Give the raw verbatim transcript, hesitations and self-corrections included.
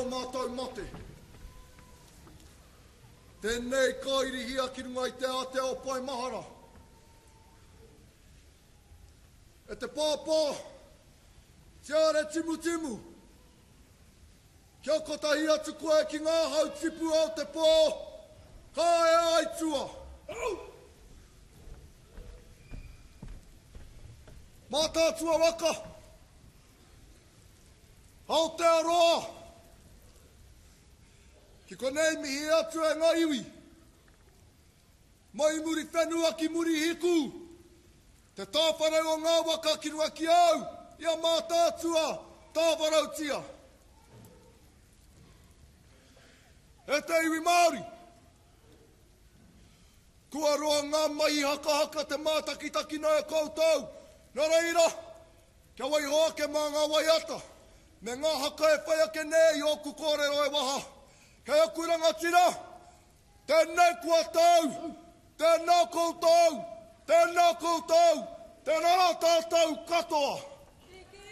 mātou mate. Tēnei ka irihia ki runga i te ātea o Pae Mahara. E te pāpā, tiare timutimu, kia kotahi atu koe ki ngā hau tipu o te pō, ka e aitua. Mātaatua waka, Aotearoa, ki konei mihi atu e ngā iwi, mai Muriwhenua ki Murihiku, te tāwharau o ngā waka ki runga ki au, i a Mātaatua, tāwharautia. E te iwi Māori, kua roa ngā mahi hakahaka te mātakitakina e koutou, nō reira, kia waiho ake mā ngā waiata, me ngā haka e whai ake nei i ōku kōrero e waha. Kei aku rangatira, tēnei kua tau, tēnā koutou, tēnā koutou, tēnā rā tātou katoa.